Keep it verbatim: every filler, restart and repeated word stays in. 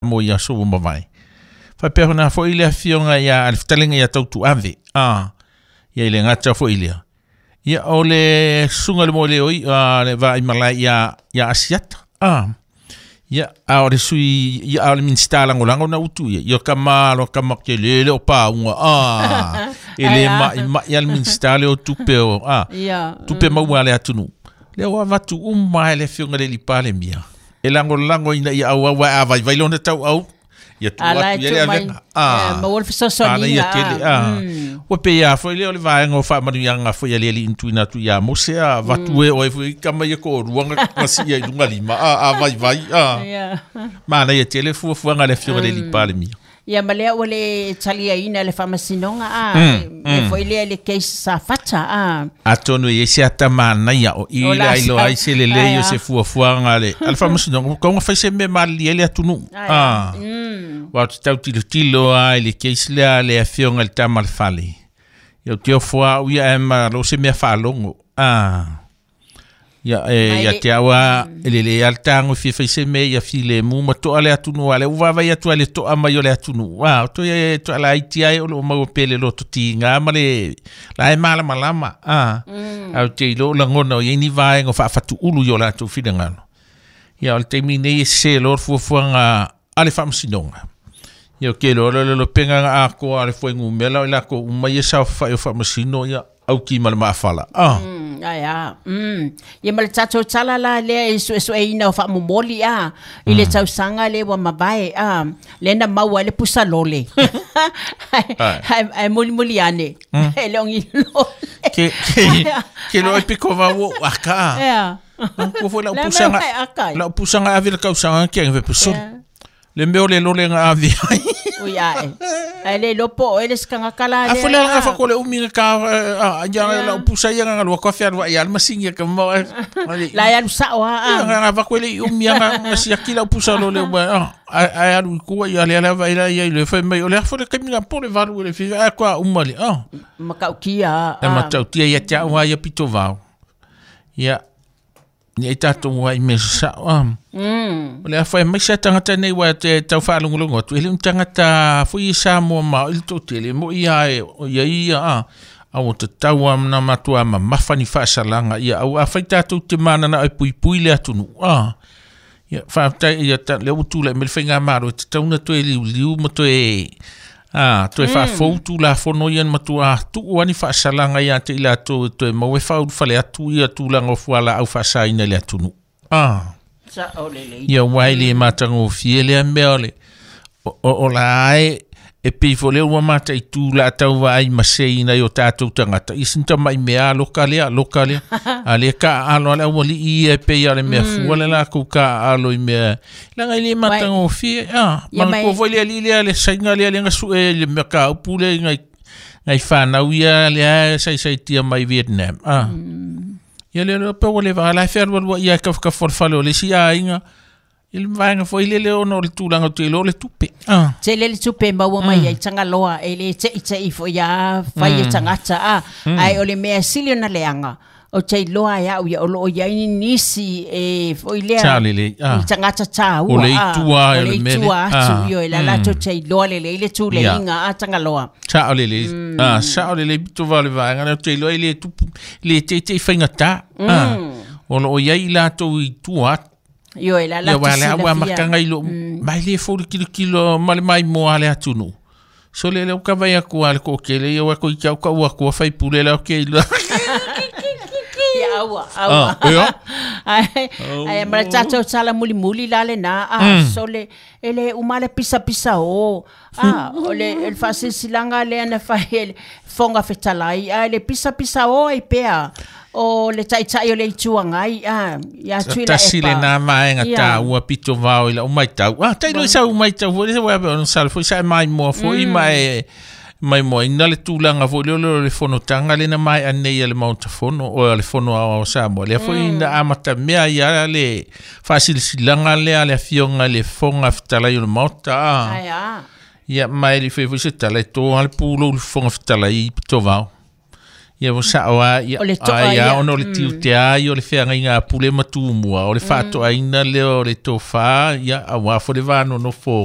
Mo ia so mavai. Fa pe hona fo ile afionga ia al ftalenga ia tautu ave. Ah. Ia ile ngata fo ile. Ia ole sunga le mo le oi a le va i malai ia ia Asiata. Ah. Ia a ole sui ia ole minista lango lango na utu ia. Ia kama lo kama ke le le o pa unga. Ah. Ele ma ma ia le minista le o tupe o. Ah. Tupe maua le atunu. Le o avatu uma le afionga le lipale mia. E lango lango ina ia au au a vai vai lona tau au ia tu atu ia le avega ah ma wolf so so ni ia tele ah o pe ia foi le o le vaenga o faamanuiaga foi a le alii tuina atu iā Mose a vatu e oe foi kama ia koʻoluaga gasi ia i luga lima a a vai vai a mana ia tele fuafuaga le afioga le alii Palemia. Ia ma lea ua le taliaina le faamasinoga a e foi lea le case sa fata a atonu e se atamanaia o i le ailoa ai se lelei o se fuafuaga le a le faamasinoga kauga fai se mea malilie le atunuu a ua te tautilotilo a i le case lea le afioga i le tama le fale ia o te ofo a'u ia ae malo se mea faalogo a ia e ia te aua e lelei a le tago fia fai se mea ia filemu ma to'a le atunuu a le ua vaavaai atu ai le to'a mai o le atunuu a o toe to'alaiti ai o loo maua pea le lototiga ma le la e malamalama a a o te iloa lagona o iai ni vaega o faafatuulu i o latou finagalo ia o le taimi nei e sese loa le fuafuaga a le faamasinoga ia o ke loa le lopega ga akoa a le fuaigumela o i lakou uma ia saofafai o faamasino ia auki ma le maafala a ai a mm ia ma le tatou tala la lea e suesueina o faamomoli a i le tausaga le ua mavae a lea na maua ai le pusa lole ai ai mulimuli ane e le ogi lole ke ke ke lo e piko vau aka ia ko foi lau pusaga lau pusaga ave le kausaga ke ave pesolo le mea o le lole ga ave ai ui ae ai le lopo o ele skanga kala le a fole ga fa ko le umi ka ya la pusa ya ga lo ko fe alwa ya masinga ka mo la ya sa o a ga va ko le umi ga si akila pusa lo le a a alu ku ya le la va ila ya le fe mai o le fole ka mi po le valu le fi a kwa uma le a makautia a makautia ya ta wa ya pito vau ya ni e tatou ai me sa a mm o le afai mai sa tangata nei wa te tau whaalongolongo atu ele un tangata fui Samoa ma o le totele mo ia e o ia ia a a o te tau amna matua ma mawhani whaasalanga ia au a whai tātou te manana ai pui pui le atunu a ia whaatai ia ta le utu le me le whainga maro te tauna toe liu liu ma toe a toe whaafoutu la fono ia matua tuu ani whaasalanga ia te ila toe toe maue whauru whale atu ia tūlanga o fuala au whaasaina le atunu a sa o le le ia waile matango fiele a mea ole o, o, o la ai e pei fo lea ua mata i tū la tau ai masei na i o tātou tangata i sinta mai mea loka lea loka lea a lea ka alo ale ua li i e pei ale mea fua le la kou ka alo i mea langa i le matango fie a mana ko foi lea li lea le sainga lea le ngasu e le mea ka upu le ngai ngai whanau ia lea sai sai tia mai Vietnam a ia le le pe le va la fe alua ia ka ka fo le si a inga il vaenga foi le le ono le tūlanga te lo le tupe ah te le le tupe maua mai ai Tangaloa e le te i te i foi a fai e tangata a ai o le mea sili ona leaga o te iloa ai au ia o loo iai ni nisi e foi lea Charlie le ah i tangata tāua o le itua o le itua atu io e la latou te iloa lelei le tuleiga a Tangaloa sa o le le ah sa o le le pito vale vaenga na te iloa i le tupu le te te whaingata ah o loo iai latou i tua io e la ia wa le awa makanga i lo mai le fo kilo kilo ma le mai mo ale atunu so le le ka vai aku ale ko ke le ia ko i ka ka ua ko fai pule la ke lo ia aua aua ai ai ma tatou sala muli muli la le na a so le ele uma le pisa pisa o a o le el fasilanga le ana fa ele fonga fetalai a le pisa pisa o ai pea o le taitai o le ituaga a ia tui la tasi le nā vaega tāua pito vao i lau maitau a tailo i sau maitau foi le wa on sal foi sa mai mo foi mai mai mo ina le tūlanga foi le le le fonotaga le na mai anei le Maota Fono o le fono ao Samoa le foi na amata mea ia le fasilisilaga lea le afioga le Fofoga Fetalai o le Maota a ai a ia mai le foi foi se tala e tō ale pūlou le Fofoga Fetalai pito vao Ia ua sa'o a ia O le to'a ai ia. a ona o le tiute ai o le feagaiga a pule ma tumua o le fa'ato'aina lea o le tofā ia auā fo le vanonofo.